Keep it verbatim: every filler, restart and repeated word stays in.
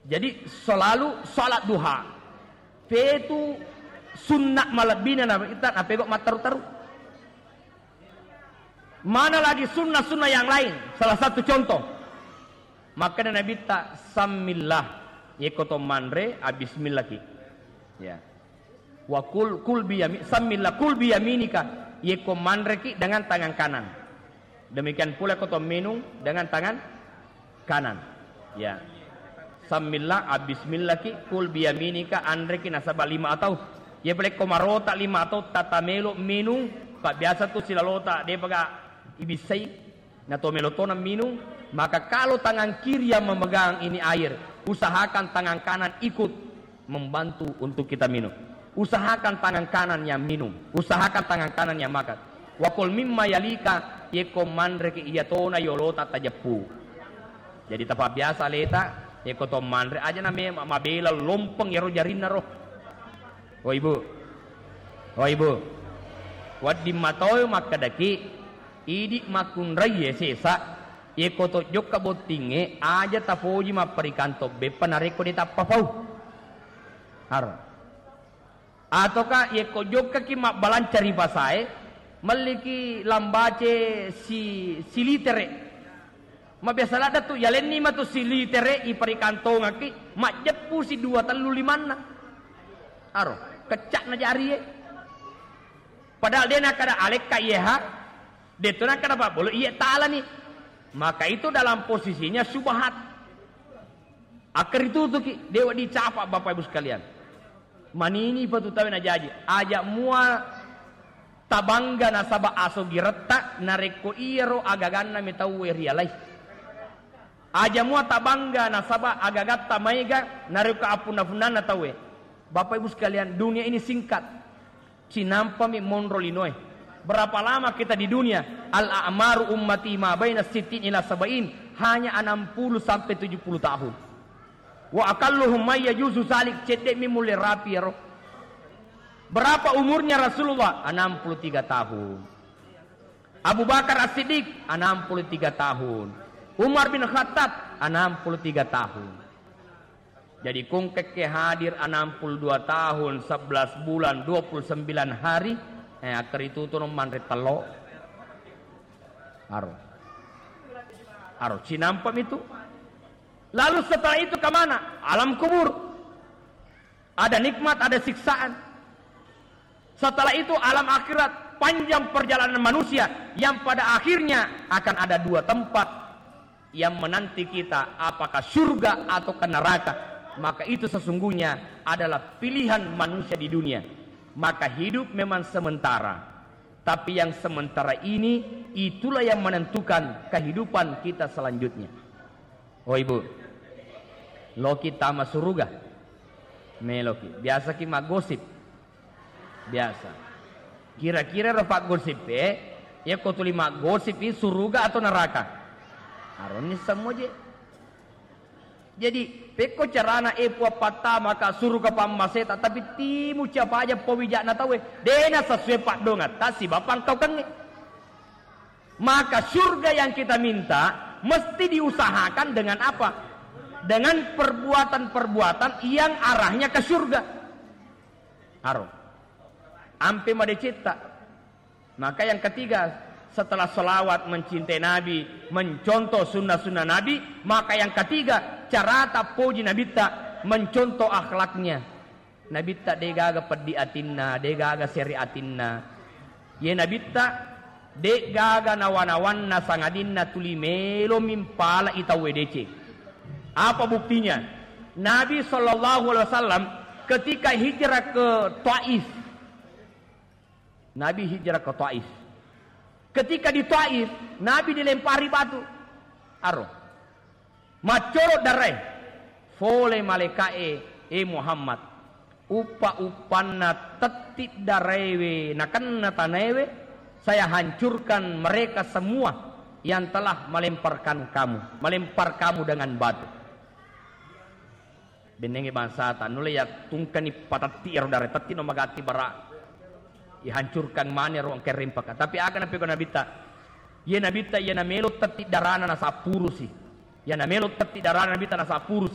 Jadi, selalu salat duha. Fetu sunna malebbina na-, ita napego matteru-teru. Mana lagi sunnah-sunnah yang lain? Salah satu contoh. Makkeda Nabitta, "Sammillah." Yekko to manre, abbismillaki. Ya. Wa kul, kul biyami-, sammillah, kul biyaminika. Yekko manreki dengan tangan kanan. Demikian pula ko to minung dengan tangan kanan. Ya. Sammillah, abbismillaki, kul biyaminika, anreki nasaba lima atau. Ya pale ko marota lima atau tata melo minung, pa biasa tu silalota, depaga ibissai. Na to melo tona minung, maka kalau tangan kiri yang memegang ini air, usahakan tangan kanan ikut membantu untuk kita minum. Usahakan tangan kanan yang minum, usahakan tangan kanan yang makan. Wa kul mimma yalika, yekko manreki iya tona yolota tajeppu. Jadi tapabiasa leta, yekko to manre aja na me-, mabela lompeng yaro jarinna ro. Oh ibu, oh ibu, wedding matoi makkedaki, idi makkunraie sesa, yekko to jokka bottingnge, aja tapoji mapparikang to beppa narekko de tappa pau. Haro. Ataukah yekko jokkaki mabbalanca ri pasae, melliki lambace si-, silitere. Mabiasa ladde tu, yalenni matu silitere iparikantongakki, majjeppu si dua tellu limanna. Aro, keccakna jarie. Padahal de nakkada alekka iyeha, de tu nakkada pabbolo iye talani. Maka itu dalam posisinya syubhat. Akkaritutuki, dewa dicapa Bapak Ibu sekalian. Manini patu tawe najaji. Aja mua tabangga nasaba aso giretta narekko iyaro agaganna metauwe rialai. Aja mua tabangga nasaba agagatta maega narekko appunna-punnanna tauwe. Bapak Ibu sekalian, dunia ini singkat. Cinampami monro linoe. Berapa lama kita di dunia? Al-a'maru ummati ma baina sittin ila sab'in, hanya enam puluh sampai tujuh puluh tahun. Wa aqalluhum may yajuzu zalik, cedde'mi mulle rapi ero. Berapa umurnya Rasulullah? Enam puluh tiga tahun. Abu Bakar As-Siddiq, enam puluh tiga tahun. Umar bin Khattab, enam puluh tiga tahun. Jadi, kungkekke hadir enam puluh dua tahun, sebelas bulan, dua puluh sembilan hari, eh, akkaritutu no manre tello. Aro. Aro, cinampami tu. Lalu setelah itu ke mana? Alam kubur. Ada nikmat, ada siksaan. Setelah itu alam akhirat, panjang perjalanan manusia yang pada akhirnya akan ada dua tempat yang menanti kita, apakah surga atau ke neraka. Maka itu sesungguhnya adalah pilihan manusia di dunia. Maka hidup memang sementara. Tapi yang sementara ini, itulah yang menentukan kehidupan kita selanjutnya. Oh ibu, loki tama suruga? Meloki. Biasaki maggosip? Biasa. Kira-kira ro paggosip e, yakko tuli maggosip i suruga atau neraka? Aronni semmo je. Jadi, pekko carana e puappatta maka suruga pammaseta, tapi timu siapa aja pawija'na tauwe, dena sesuai paddongatta siba pangkaukengnge. Maka surga yang kita minta mesti diusahakan dengan apa? Dengan perbuatan-perbuatan yang arahnya ke surga. Aro. Ampe madecetta. Maka yang ketiga, setelah salawat, mencintai Nabi, mencontoh sunnah-sunnah Nabi, maka yang ketiga, carata poji Nabitta, mencontoh akhlaknya. Nabitta degaga peddi atinna, degaga seri atinna. Ye Nabitta degaga nawa-nawanna sangadinna tuli melo mimpala i tauwe deceng. Apa buktinya? Nabi sallallahu alaihi wasallam ketika hijrah ke Taif, Nabi hijrah ke Taif. Ketika di Taif, Nabi dilempari batu. Aro. Maccoro darae. Fole malaika'e, "E Muhammad, uppa-uppanna tetti daraewe nakenna tanaewe, saya hancurkan mereka semua yang telah melemparkan kamu, melempar kamu dengan batu." Bennengngi bangsata, nulle yattungkani patetti ero darae, tetti no magatti bara ihancurkan mani ero engka rempaka. Tapi aga napegau Nabitta? Iye Nabitta, iya namelo tetti darana nasappurusi. Iya namelo tetti darana Nabitta nasappurusi.